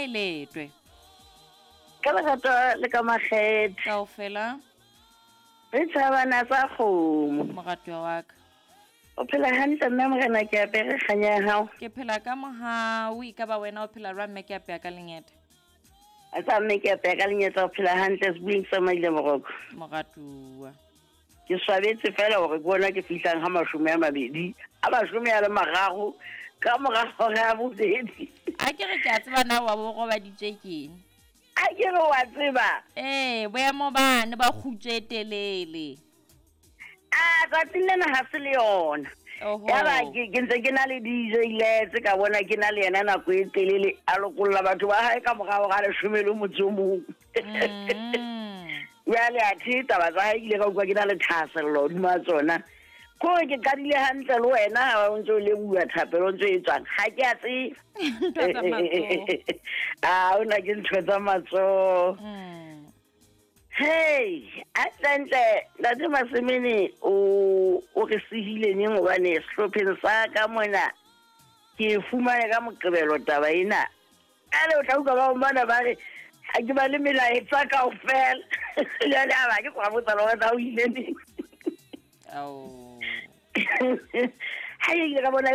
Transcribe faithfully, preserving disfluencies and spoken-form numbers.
e letwe. Ka lerato le ka makgethe. Kaofela. Re tshabana tsa kgomo. Moratuwa wa ka. O phela hantle mme morena ke apere kganya ya hao. Ke phela ka mohau, e ka ba wena o phela jwang mme ke apeya ka lengeta? A tsa mme ke apeya ka lengeta, o phela hantle sebueng sa maile moroko. Moratuwa. Ke swabetse fela hore ke bona ke fihlang ha mashome a mabedi, a mashome a le mararo ka mora hora ya bobedi. A ke re ke a tseba na wa bo robaditswe keng? A ke re wa tseba? Ee, boemo bane ba kgutso e telele. A tsatsing lena ha se le yona. Oho. Yaba ke ke ntse ke na le D J Letse ka bona ke na le yena nako e telele a lokolla batho ba hae ka morao ga leshome le motso o mong. Mm. Jwale athe taba tsa hae ke ile ka utlwa ke na le thahasello hodima tsona. Kore ke qadile hantle le wena ha o ntse o leboha thapelo o ntse e tswang. Ha ke a tsebe. Ntho tsa matsoho. Ah, ona ke ntho tsa matsoho. Mm. Hey, atlentle Ntate Masemene o o re sehile neng hobane sehlopheng sa ka mona ke fumane ka Moqebelo taba ena. Ale o tla utlwa ba mana ba re ha ke ba le melaetsa kaofela. Jwale a ba ke kwa botsa le hore na o ile neng. Ao. Ha ke ile ka bona